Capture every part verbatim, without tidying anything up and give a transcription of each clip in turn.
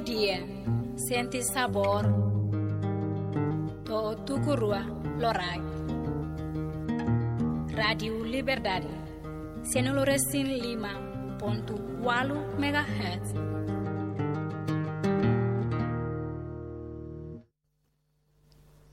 Dia, sente sabór, to'o tuku rua loraik. Rádiu Liberdade, sanulu resin lima pontu ualu megahertz.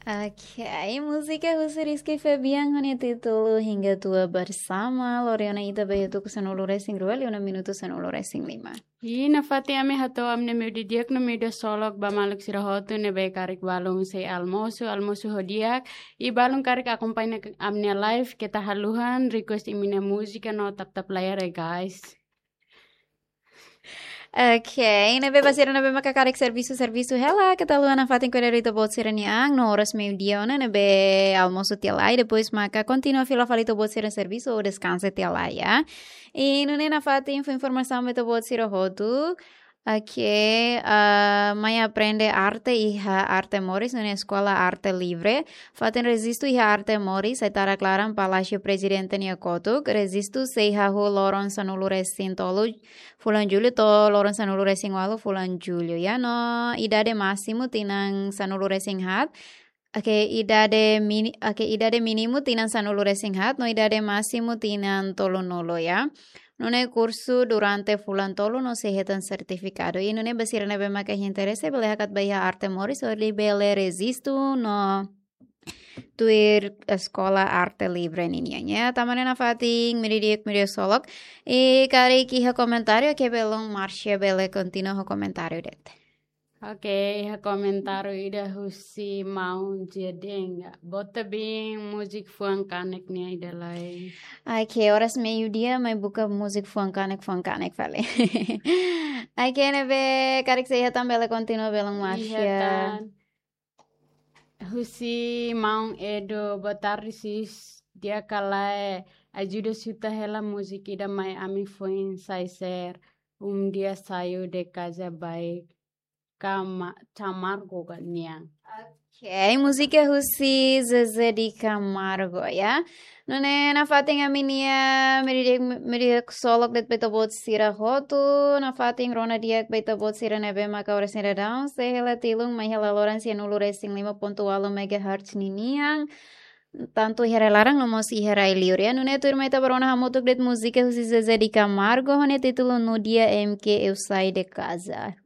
Oke, múzika husi Rizky Febian ho nia títulu Hingga Tua Bersama. Lori ona ita ba iha tuku sanulu resin rua, liu ona minutu sanulu resin lima. I nafatin ami hato'o ami-nia meiudia di'ak no meiudia ksolok ba maluk sira hotu ne'ebé karik balun sei almosu, almosu ho di'ak. I balun karik akompaña ami-nia live, keta haluha request imi-nia múzika no tap-tap layar ya, guys. Oke, ne'ebé ba sira ne'ebé maka karik servisu, servisu hela, keta haluha nafatin kuidadu ita-boot sira-nia an, no oras meiudia ona ne'ebé almosu tiha lai, depois maka kontinua fila fali ita-boot sira servisu ou deskansa tiha lai, ya. I nune'e nafatin fó informasaun ba ita-boot sira hotu. Oke, ah, mai aprende arte iha Arte Moris, nune'e Eskola Arte Livre. Fatin rejistu iha Arte Moris, sai tara klaran Palásiu Prezidente nia kotuk. Rejistu sei hahú loron sanulu resin tolu fulan Jullu to'o loron sanulu resin ualu fulan Jullu, ya. No idade másimu tinan sanulu resin haat. Oke, idade mini-, oke, idade mínimu tinan sanulu resin haat, no idade másimu tinan tolunulu, ya. Nune'e kursu durante fulan tolu no sei hetan sertifikadu. I nune'e ba sira ne'ebé maka interese bele hakat ba iha Arte Moris hodi bele rejistu no tuir Eskola Arte Livre ninian, ya. Tanba ne'e nafatin meiudia di'ak, meiudia ksolok. I karik iha komentáriu, oke, belun Marcia bele kontinua ho komentáriu de'it. Oke, iha komentáriu ida husi Maun Jedeng. Boot tebes múzika fuan kanek nian ida lai. Oke, oras meiudia mai buka múzika fuan kanek, fuan kanek fali. Oke, ne'ebé karik sei iha tan bele kontinua belun Marcia. Iha tan. Husi Maun Edo, boa tarde, sis. Di'ak ka lae, ajuda xuta hela múzika ida mai ami foin sai share. Um dia saio de casa, baik. Cama-, Camargo ka nian. Oke, múzika husi Zezé de Camargo, ya. Nune'e nafatin ami-nia meiudia, meiudia ksolok de'it ba ita-boot sira hotu, nafatin rona di'ak ba ita-boot sira ne'ebé maka oras ne'e daudaun sei hela tilun mai hela loron sanulu resin lima pontu ualu megahertz ninian. Tantu iha rai laran no mós iha rai liur, ya. Nune'e tuirmai ita bá rona hamutuk de'it múzika husi Zezé de Camargo ho nia títulu No Dia em que Eu Saí de Casa.